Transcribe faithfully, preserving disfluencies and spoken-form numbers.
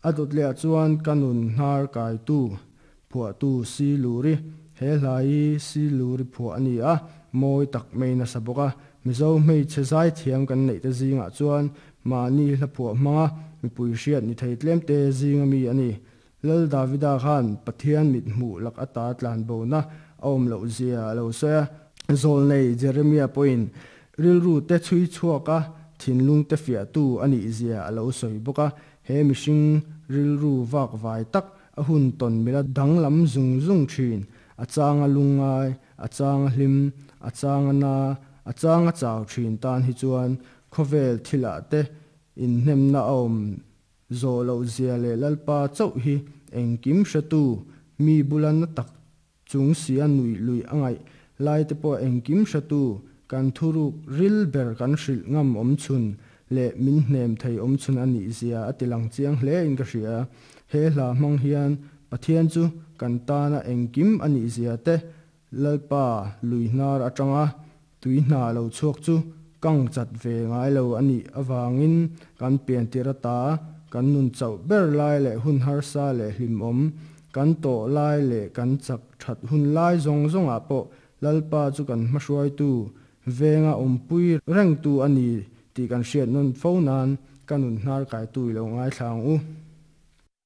A dawt leh ah chuan Ka Nun Hnar Kaitu phuahtu Si Luri, he hla hi Si Luri phuah a ni a, mawi tak maiin a sa bawk a. Mizo hmeichhe zaithiam kan neih te zingah chuan mahni hla phuah hmanga mipui hriat ni thei tlem te zinga mi a ni. Lal Davida khan Pathian mit hmuh lak ata tlanbona a awm loh zia a lo sawi a. Zawlnei Jeremia pawhin rilru te chhui chhuak a, thinlung te fiahtu a nih zia a lo sawi bawk a. He mihring rilru vak vai tak, a hun tawn mila danglam zung zung thin, a changa lungngai, a changa hlim, a changa na, a changa chau thin tan hi chuan khawvel thilah te inhnemna a awm zawh loh zia leh Lalpa chauh hi engkim hretu, mi bula na tak chung sia nuih luih a ngaih lai te pawh engkim hretu, kan thuruk ril ber kan hrilh ngam awm chhun leh min hnem thei awm chhun a nih zia a ti lang chiang hle in ka hria. He hla hmang hian Pathian chu kan tana engkim a nih zia te, Lalpa lui hnar atanga tui hna lo chhuak chu kang chat ve ngai lo a nih avangin kan piantir ata kan nun chauh ber lai leh hun harsa leh hlimawm kan tawh lai leh kan chak that hun lai zawng zawngah pawh Lalpa chu kan hmahruaitu, venga awmpui rengtu a ni tih kan hriat nawn fo nan Ka Nun Hnar Kaitu i lo ngaithla ang u.